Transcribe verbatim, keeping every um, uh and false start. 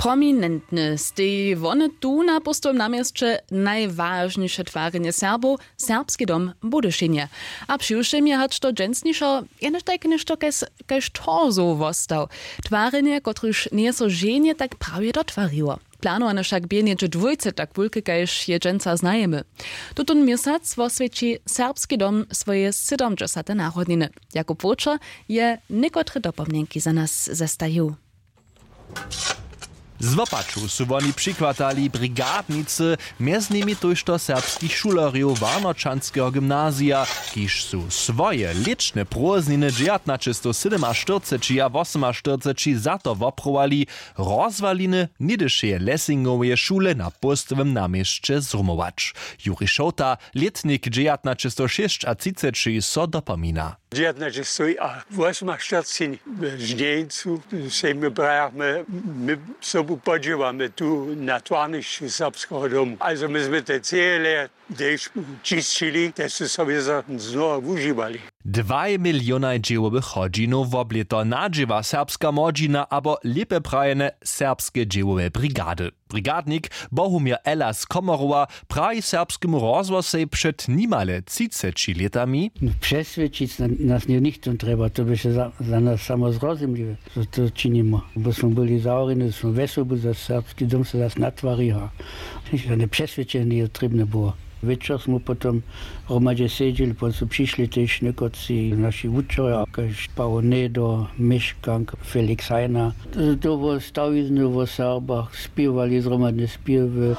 Prominentne steji wone tu na póstowym naměsće najwažniše twarjenje Serbow, Serbski dom w Budyšinje. A přiwšěm je hač to dźensnišo jenož tajke něšto kaž torzow wostał. Twarjenje, kotrež njeje so ženje tak prawje dotwariło. Planowanje wšak bě něhdźe dwójce tak wulke kaž je dźensa znajemy. Tutón měsac woswjeći Serbski dom swoje sydomdźesate narodniny. Jakub Wočer je někotre dopomnjenki za nas zestajił. Z wopaču su woni přichwatali brigadnicy, mjez nimi tójšto serbskich šulerjow warnočanskeho gymnazija, kiž su swoje lěčne prózdniny dźewjatnaćestowsydomaštyrceći a wosomaštyrceći za to woprowali, rozwaliny něhdyšeje lessingoweje šule na póstowym naměsće zrumować. Juri Šołta, lětnik dźewjatnaćestowšěsćatřiceći, so dopomina. Dźewjatnaćestowwosomaštyrceći w žnjeńcu sej my brajachmy, my sobu podźěłamy tu na twarnišću serbskeho domu, ale my smy te cele tež čisćili, te su so wězo znowa wužiwali. Dwaj milionaj dźěłowych hodźinow woblěto nadźěła serbska młodźina abo lěpje prajene serbske dźěłowe brigady. Brigadnik Bohumir Ella z Komorowa praji Serbskemu rozhłosej před nimale třiceći lětami: Přeswědčić nas nje nichtó trjeba, to běše za nas samo zrozumliwe, zo to činimy, bo smy byli zahorjeni, zo smy wjesobu za serbski dom se zas natwariła. Žane přeswědčenje njeje trěbne było. Wječor smy potom hromadźe sedźeli, potom su přišli tež někotři naši wučerjo kaž Pawo Nedo, Měškank, Felix Hajna. To wo stawizny wo Serbach spěwali zhromadne spěwy.